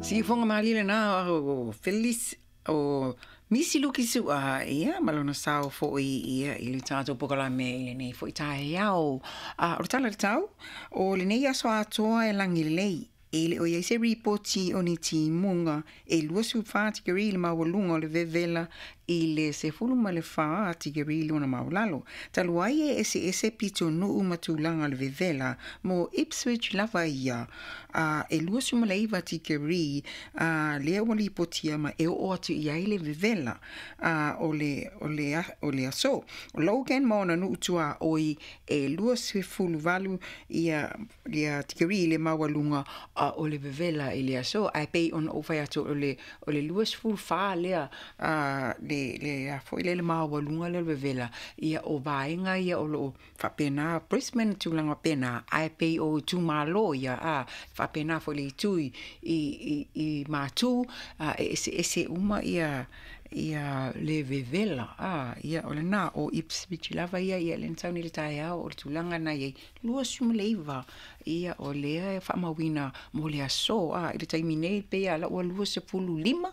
Siufoga malie lena o Felis o Misi Luki Su'a, ia, ma lona sao fo'i, ia, i le tatou polokalame i lenei fo'i taeao. A o le tala i le tau, o lenei aso atoa e lagi lelei, e le o i ai se ripoti o ni timuga, e 24 tikeri le maualuga o le vevela i le 14 tikeri lona maualalo. Talu ai e eseese pitonuu ma tulaga o le vevela, mo Ipswich lava ia, a e 29 tikeri a lea ua lipotia ma e oo atu i ai le vevela a o le, o le, o le aso. O Logan ma ona nuu tuaoi e 28 ia, ia tikeri le maualuga a o le vevela i le aso. Ae pei ona ou fai atu o le, o le 24 lea a le, le a foi lea le maualuga lea o le vevela, ia o vaega ia o loo faapena Brisbane tulaga faapena, ae pei o itumalo ia a faapena foi le itu i, i, i Matu, a e eseese uma ia, ia le vevela a ia o lena o Ipswich lava ia ia le na sau nei i le taeao o le tulaga na i ai 29 ia o lea e faamauina mo le aso a i le taimi nei pei a la ua 25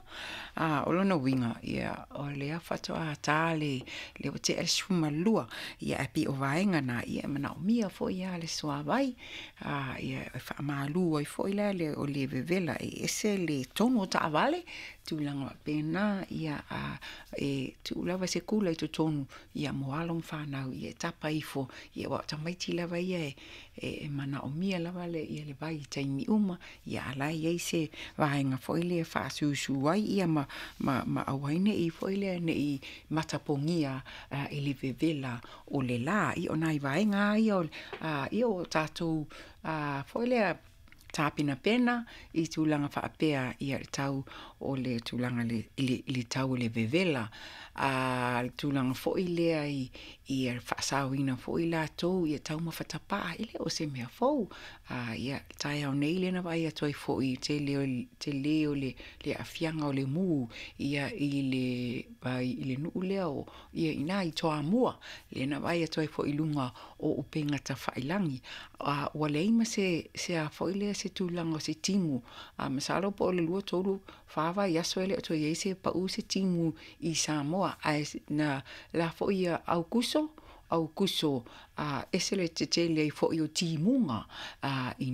a o lona uiga ia o lea faatoa ta le le ua tea le 12 ia ae pei o vaega na ia e manaomia foi a le suavai a ia e faamalu ai foi la le o le vevela e ese le tonu o taavale tulaga faapena ia a e tuu lava se kula i totonu ia mo alo ma fanau ia e tapa ifo ia aua o tamaiti lava ia e, e, e manaomia lava le, ia le vai i taimi uma ia a la e i ai se vaega foi lea e faasusu ai ia ma, ma, ma aua ai ne i foi lea ne i matapogia i le vevela o le la. Ia o nai vaega ia o, ia o tatou foi lea tapenapena i tulaga faapea ia le tau o le tulaga le, i le, i le tau o le vevela a le tulaga foi lea i, i faasaoina foi latou ia taumafa tapaa e le o se mea fou a ia taeao nei lea na vaai atu ai foi tele o tele o le, le aafiaga o le mu ia i le i le nuu lea o ia ina i Toamua lea na vaai atu ai foi i luga o upega tafailagi a ua leai ma se se a foi lea se tulaga o se timu a masalo po o le 2 3 4 vaiaso e le o toe i ai se pau se timu i Samoa ae na la foi ia Aukuso Aukuso a ese le tetele ai foi o timuga a i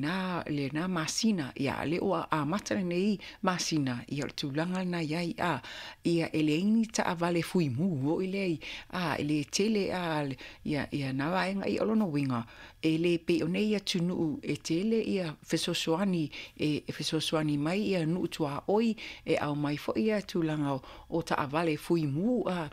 lena masina ia lea ua amata lenei masina ia o le tulaga lena i ai a ia e leai ni taavale fuimu foi lea a e le tele a ia ia na vaega ia o lona uiga e le pei o nei atunuu e tele ia fesoasoani e, e fesoasoani mai ia nuu tuaoi e aumai foi ia tulaga o, o taavale fuimu a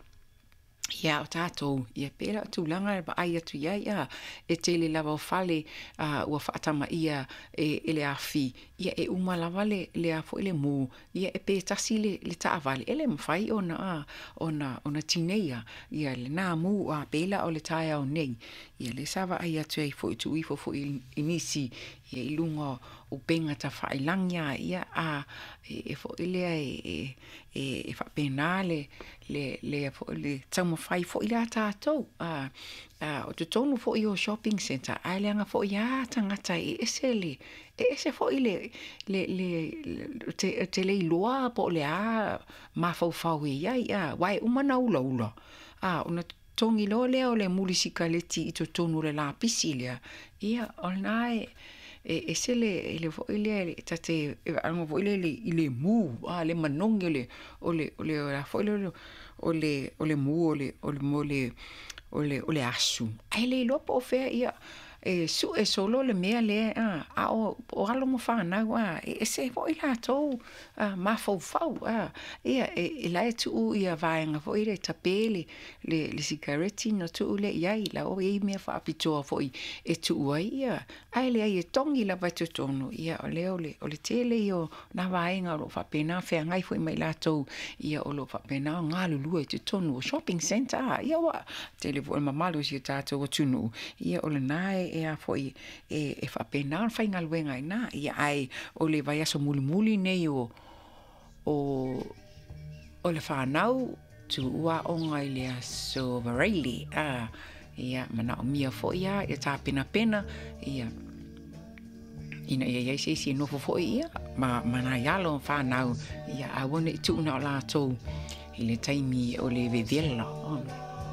ia o tatou ia pei la o tulaga e vaai atu i ai a e tele lava o fale a ua faatamaia e, e le afi ia e uma lava le le a foi le mu ia e pe tasi le, le taavale e le mafai ona a ona ona tineia ia lena mu a pei la o le taeao nei ia lea sa vaai atu ai foi tuu ifo foi i nisi ia i luga o upega tafailagi a ia a e, e foi lea e, e, e faapena le le le foi le taumafai foi lea tatou a a o totonu foi o shopping centre ae leaga foi a tagata e ese le e ese foi le le le te, te le iloa po o le a mafaufau e i ai a aua e uma na ulaula a ona togi loa lea o le muli sikaleti i totonu o le lapisi lea ia o lena e e ese le le foi lea ta te e faalogo foi lea i le mu a le manogi o le o le o le o foi le o le o le mu o le o le o le o le o le asu ae le iloa po o fea ia e sue solo le mea lea a a o, o alo ma fanau a e ese foi latou a mafaufau a ia e, e la e tuu ia vaega foi le tape le le, le sikareti na tuu lea i ai la o i mea faapitoa foi e tuu ai ia ae leai e togi lava i totonu ia o lea o le, o le tele ia o nā vaega o loo faapena feagai foi ma i latou ia o loo faapena o galulue i totonu o shopping centre a ia ua tele foi mamalu o si o tatou atunuu ia o lena e, e a foi e, e faapena ona faigaluega ai na ia ae o le vaiaso mulimuli nei o o o le fanau tuua aoga i le aso Varaile a ia manaomia foi a ia tapenapena ia Ina ia i ai se isi e nofo foi ia ma nai alo ma fanau, ia aua ne i tuu na o latou i le taimi o le vevela.